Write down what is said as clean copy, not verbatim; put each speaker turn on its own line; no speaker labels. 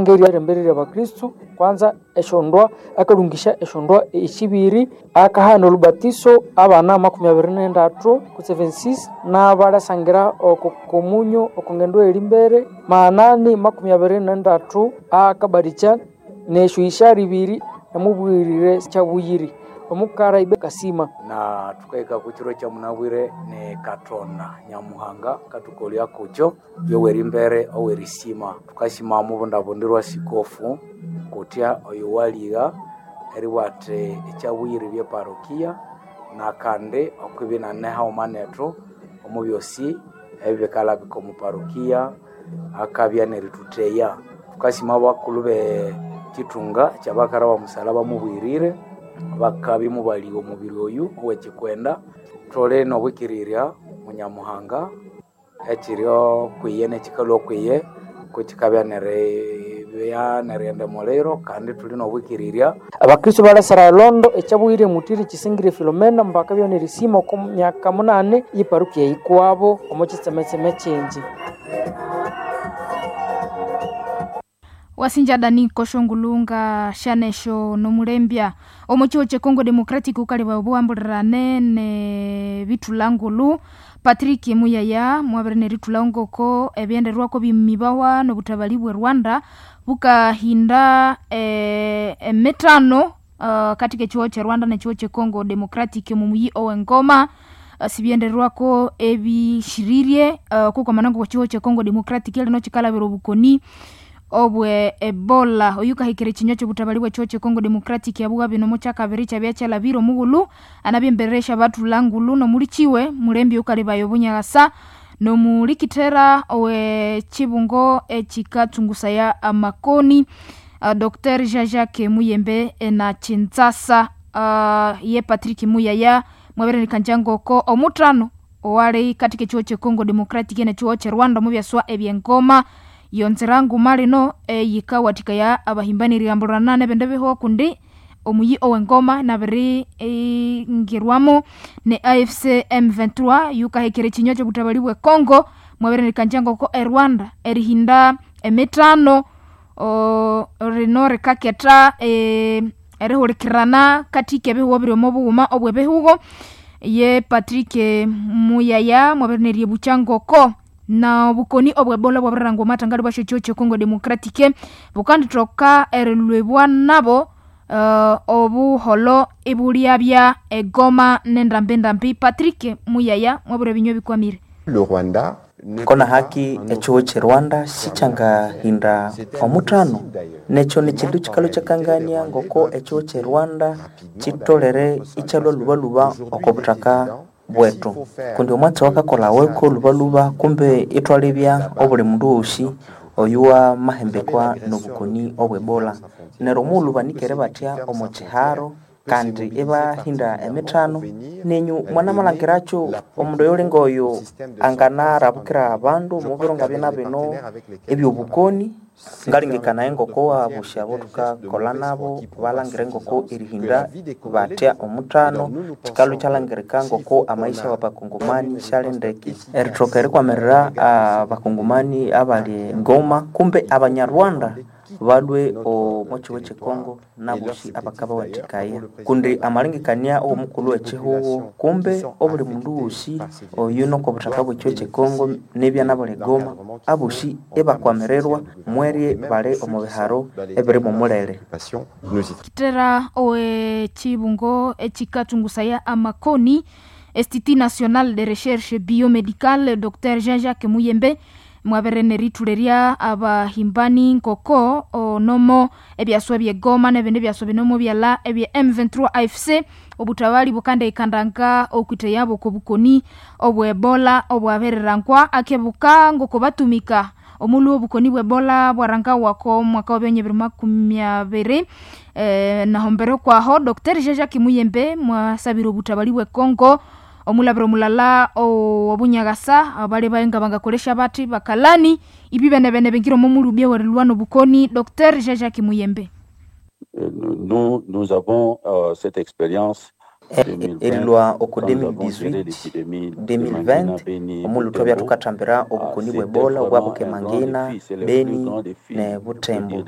Ngeri abakristu kwanza esyondwa akalungisya esyondwa esibiri, akahana olubatiso abana 23 kutse 26 n'abalyasangira oko komunyo oko ngendo eyiri mbere maanani 23 akabatikya nesyohisyara ibiri namubwirire kyabuyiri omukara ibe kasima.
Na tukahika ku kiro kya munabwire ni Katonda Nyamuhanga akathukolya kukyo yowerimbere owerisima. Thukasima omubundabundirwa sikofu kutya oyo waligha eribugha athi ekyabuyiri bye parokia nakandi okwibya inane haghuma nethu omu byosi ebikalabika omu parokia akabya nerithutheya. Thukasima abakulhu be kithunga kyabakara bomusalaba mubwirire bakabya imubaligha omubiri oyu owekyikwenda. Thuli nobwikirirya Munyamuhanga ekyirio kwiye nekikalhwa kwiye kukikabya neribya nerighenda omuliro kandi thuli nobwikirirya.
Abakristu balhasira elondo ekyabuyiri emutiri Kisingiri Filomena mbakabya nerisima oko myaka 8 ye parokia eyikuwabo omo kyitsemetseme kyingi.
Wasinja dani koshongulunga shanesho nomulembya omo chiho che Congo Democratic ukalibwa obuwambulirane ne bithulangulu Patrick Muyaya mwabere nerithula ngoko ebyenderwako bimibawa nobutabali bwe Rwanda bukahinda emitano katika echiho che Rwanda nechiho che Congo Democratic mumuyi owengoma sibyenderwako ebishiririe kukomanango chiho che Congo Democratic lino chikalabira obukoni obwe Ebola oyu kahikira ekinywa ky'obutabali bw'ekiho kye Congo Democratic yabuga bino mukyakabiri kyabya kyalabire omughulu anabyembereresya bathula ngulu nomulikiwe mulembi ukalibayo obunyakasa nomulikithera ow'ekibungo ekikatsungusaya amakoni Dr. Jean-Jacques Muyembe na Kinshasa ye Patrick Muyaya mwabirerekanja ngoko omuthano owali katika ekiho kye Congo Democratic nekiho kye Rwanda omubyaswa ebyengoma yonzera nguma lino eyikawathikaya abahimbani erihambulana nebindi bihugo kundi omuyi owengoma nabiri ingirwamo ne AFC M23 yukahikira ekinywa ky'obutabali bwe Congo mwabirerekanja ngoko e Rwanda erihinda emithano rino rikaketha erihulikirana katika ebihugo biri omo bughuma obw'ebihugo ye Patrick Muyaya mwabirenerya ngoko na obukoni obwebola bwabirirangwa omathangali bwasyo ekiho kye Congo Democratic bukandithoka erilwibwa nabo obuholho ibulyabya egoma nendambindambi. Patrick Muyaya mwabire ebinywa ebikwamire.
Le Rwanda
kona haki echiho che Rwanda sichangahinda omuthano nekyo nikindu kikalo kyakangania ngoko echiho che Rwanda kitolere ikyalwa lubaluba oko buthaka bwetu kundi omwatsi wakakola weko lubaluba kumbe ithwalebya obuli mundu wosi oyuwa mahembekwa nobukoni obwebola neryo omughulhu banikere batya omo kiharo kandi ibahinda emithano nenyu mwanamalhangirakyo omundu oyuli ngoyo anganarabukira abandu omubiro ngabya bino ebyobukoni ngalengekanaye ngoko abosya abo thukakolha nabo balangire ngoko erihinda batya omuthano kikalhwa ikyalhangirika ngoko amaisha wabakongomani syali ndeke erithoka erikwamirira abakongomani abali ngoma kumbe abanyarwanda balwe omo kigo kye Congo nabosi abakabawathikaya kundi amalengekania owomukulhu w'ekihugo kumbe obuli mundu wosi oyu noko buthaka bw'ekigo kye Congo nibya nabuli Goma abosi ibakwamirirwa mwerye bali omu biharo ebiri mumulere.
Kitera ow'ekibungo ekikatsungusaya amakoni Institut National de Recherche Biomedicale Dr. Jean-Jacques Muyembe mwabere nerithulerya abahimbani nkoko onomo ebyaswa byegoma nebindi byaswa binomo byala ebya M23 AFC obutabali bukandikandanga okwitheyabo okobukoni obwebola obwabirirangwa akebuka ngoko batumika omulhu obukoni bwebola bwarangawako omwaka wa 2020 nahombere kwaho Dr. Jean-Jacques Muyembe mwasabire obutabali bwe Congo omulabiro omulala obunyagasa abali baenga bangakolesha bathi bakalani ibi benebene bingira omo mulubya werilwa nobukoni. Dr. Jean-Jacques Muyembe.
Nous, nous avons cette expérience.
Erilwa oko 2018 2020 omulhu twabya thukathambira obukoni bwe Ebola obwabukemangina, Beni ne Butembo.